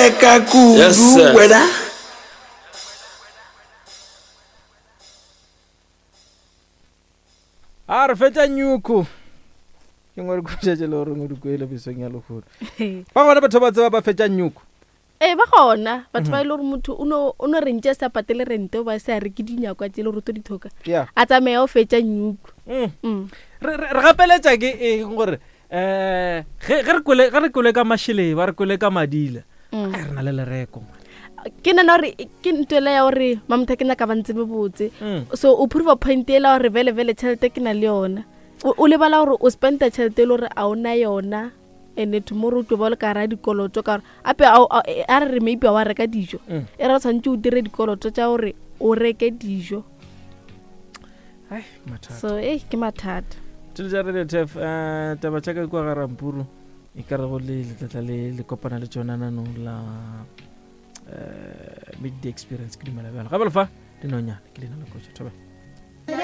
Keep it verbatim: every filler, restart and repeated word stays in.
Bereka Yes, kudu sir. wena. A re fetša nyuko ke ngwe re kutšetše le gore o di kwele besong ya lehono. Ba gona batho ba tseba ba fetša nyuko. Ee, ba gona batho ba e le gore motho o no o no rentše a sa patele rente o ba se a reke dinyakwa tse e le gore o tlo di thoka, ya a tsamaya o fetša nyuko. Mm. Mm. Re re- re gapeletša ke eng gore um ge ge re kwele ge re kwele ka mašeleng ba re kwele ka madila? Mm. Ai, re na le lereko man. Ke nana gore ke ntho ela ya gore mamotho ke nyaka ba ntsebe botse. Mm. So o prove a point ela gore vele vele tšhelete ke na le yona, o o lebala gore o spenda tšhelete e le gore a o na yona, and tomorrow o tlo ba o le ka gara dikoloto ka gore ape a o- a a re re maybe a wa reka dijo. Mm. E ra o tshwanetse o dire dikoloto tša gore o reke dijo. Ai, mathata. So e ke mathata. Tšelo tša Radio Tef, um taba tša ka kua ga Rampuru e ka rego le letlatla le le kopana le tšona nanong la um midday experience. Ke dumela bjalo gape lefa dinonyana ke leina la kotša thobela.